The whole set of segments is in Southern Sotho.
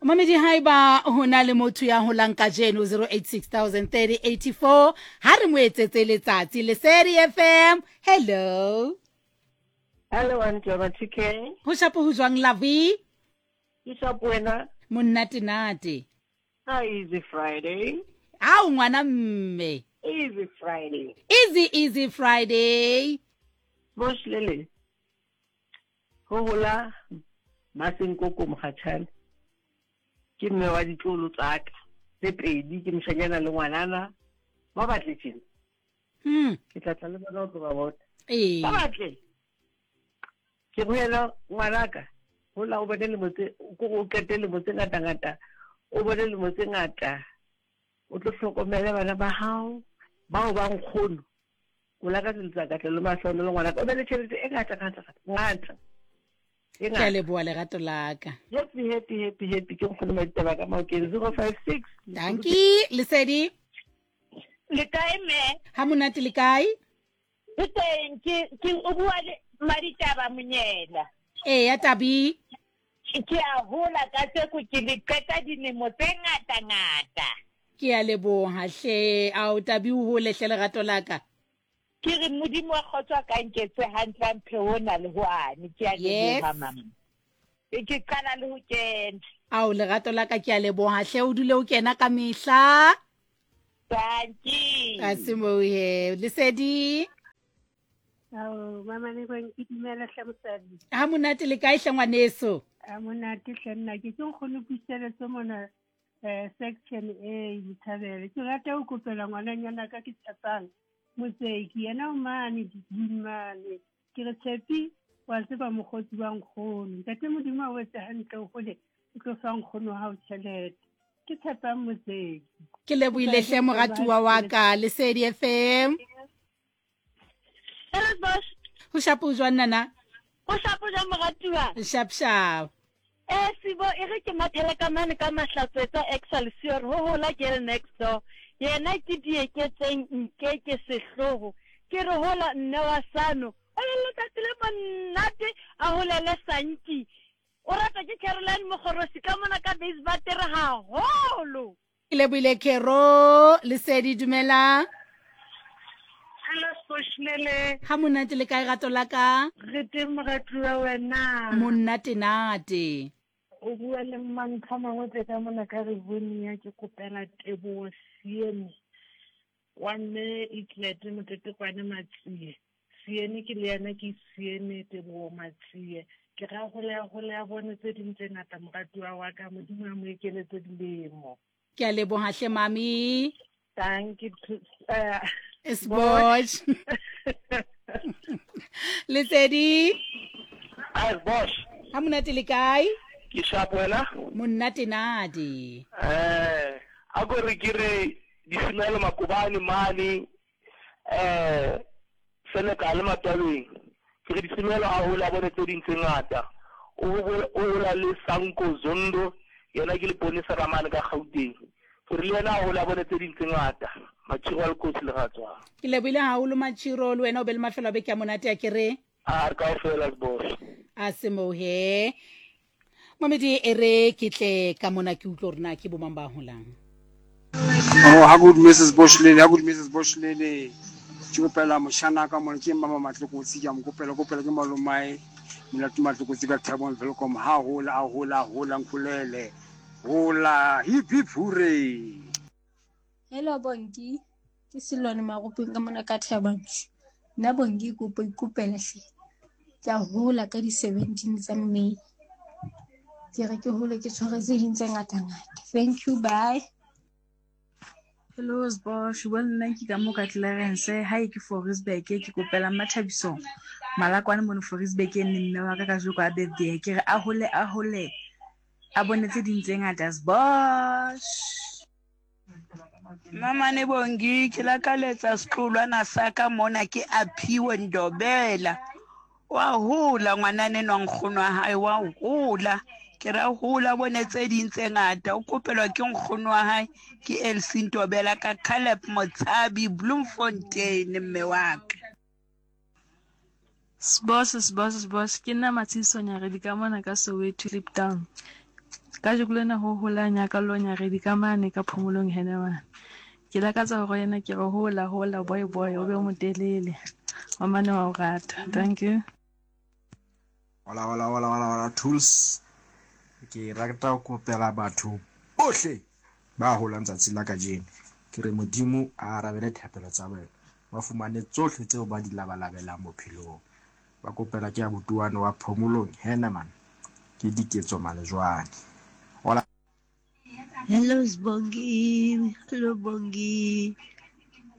Mamedi haeba ho na le motho ya holang kajeno 08603084 ha re mo etsetse letsatsi. Lesedi FM, hello. Hello, Auntie wa 2K. Ho shapo ho jwang Lovey? Ke shapo wena. Monate nate. Ah, easy Friday. Ao ngwana mme. Easy Friday. Easy easy Friday. Bosh lele. Ho hola Masenkoko Mokgatšhane. Ke mme wa ditlolo tsaka tse pedi, ke moshanyana le ngwanana. Ba batle tjena. Ke tla tla le bona o tlo ba bona. Ee. Ba batle. Ke go yena ngwanaka, hola o bone lemo tse, ko o qete lemo tse ngata ngata, o bone lemo tse ngata, o tlo hlokomele bana ba hao, bao ba nkgono. O lakaletsa katlego le mahlohonolo ngwanaka, o be le tšhelete e ngata ngata ngata. E Ke a ngata. leboha lerato la ka. Happy happy happy happy ke nkgono Maditaba ka Maokeng 056. Dankie, Lesedi. Le kae mme? Ha monate le kae? Ke teng, ke ke o bua le Maditaba Monyela. Eya Tabi. Ke a hola kajeko ke le qeta dilemo tse ngata ngata. Ke a leboha hle. Ao Tabi o hole hle lerato la ka. Ke re Modimo wa kgotso a ka nketse hantle a mphe hona le hwane. Ke a Yes. leboha mama. E ke qala le ho kena. Ao lerato la ka ke a leboha hle o dule o kena ka mehla. Dankie. A se moo he. Lesedi. Ao, mama le kweng ke dumela hle mosadi. Ha monate le kae hle ngwaneso? A monate hle nna ke ke nkgone puseletso mona eh section A Bothabela. Ke rata ho kopela ngwananyana ka ke tshepang Motseki yena o mane dibung mane. Ke re Tshepi wa tseba mokgotsi wa nkgono. Ntate Modimo a o etse hantle o hole o tlo fa nkgono wa hao tjhelete. Ke Tshepang Motseki. Ke lebohile hle moratuwa wa ka Lesedi FM. Hello boss. Ho shapo jwang nana? Ho shapo jwang moratuwa? Shap shap. Eh Sibo e re ke mathele ka mane ka Mahlatswetsa Excelsior ho hola girl next door. Yena ke Dieketseng Nkeke Sehloho. Ke re hola nne wa Sano. O le letsatsi le monate a holele Sanki. O ratwa ke Caroline Mogorosi ka mona ka Beisbatere haholo. Ke lebohile Kero Lesedi dumela. Hello Sposhlele. Ha monate le kae rato la ka? Re teng moratuwa wena. Monate nate. O bua le Mmantlha Mangwe ka mona ka Rivonia ke kopela Teboho Siene wa mme Itlet Motetekwane Matsie. Siene ke le yena ke Siene Teboho Matsie. Ke ra hole a hole a bone tse ding tse ngata moratuwa wa ka Modimo a mo ekeletse dilemo. Ke a leboha hle mami. Thank you. Sbosh. Lesedi. Hi Sbosh. Ha monate le kae? Ke sharp wena? Monate nadi. Eh, a ko re ke re disimelo makobane mane eh Senegal matwabeng. Ke re disimelo a hola bone tse ding tse ngata. O hola le Sanko Zondo yena ke leponesa ka mane ka Gauteng. Ke re le yena a hola bone tse ding tse ngata. Machiro a lekotsi le ratswang. Ke lebohile haholo Machiro le wena o be le mafelo a beke a monate a ke re. A re kaofela Sbosh. A se moo he. Mamedi e re ke tle ka mona ke utlwe gore na ke bomang ba holang. Oh, ha good Mrs. Boshlele, ha good Mrs. Boshlele. Ke kopela moshana ka mona ke mama Matlokotsi ke a mo kopela kopela ke malomae Molato Matlokotsi ka Thabong Welkom ha hola a hola hola nkulele hola hip hip hooray. Hello Bongi, ke Selwane Maropeng ka mona ka Thaba Nchu. Nna Bongi kopo ikopela hle. Ke a hola ka di-17 tsa May. Ke re ke hole ke tshware tse ding tse ngata-ngata. Thank you, bye. Hello Sbosh, bua le nna ke ka mo ka Clarence, hae ke Forisburg, ke kopela Mmathabiso Malakwane mono Forisburg e nne mme wa ka kajeko a birthday, ke re a hole a hole a bone tse ding tse ngata Sbosh. Mamane Bongi, ke lakaletsa setlolwana sa ka mona ke Aphiwe Ndobela. Wa hola ngwanana enwa nkgono wa hae wa hola. Ke ra hola bone tse ding tse ngata. O kopelwa ke nkgono wa hae ke Elsie Ntobela ka Caleb Motshabi Bloemfontein mme wa ka. Sboss sboss sboss ke nna Matshiso Nyaredi ka mona ka Soweto Kliptown. Kajeko lena ho hola nyakallo nyaredi ka mane ka phomolong Henneman. Ke lakatsa hore yena ke re hola hola boy boy o be o motelele. Mamane wa o rata. Thank you. Hola hola hola hola hola tools. Ke rata ho kopela batho bohle ba holang tsatsi la kajeno. Ke re Modimo a arabele thapelo tsa bona. Ba fumane tsohle tseo ba di labalabelang bophelong. Ba kopela ke abuti wane wa Phomolong Henneman ke Diketso Malejwane. Hola. Hello Sbongi, hello Bongi.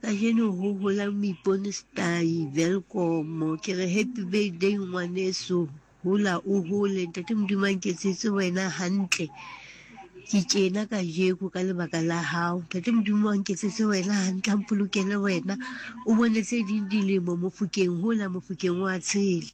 Kajeno ho hola Moipone Stai, welcome. Ke re happy birthday ngwaneso. Hola o hole ntate Modimo a nketsetse wena hantle. Ke tjena kajeko ka lebaka la hao. Ntate Modimo a nketsetse wena hantle, a mpolokele wena. O bone tse ding dilemo Mofokeng, hola Mofokeng wa tshela.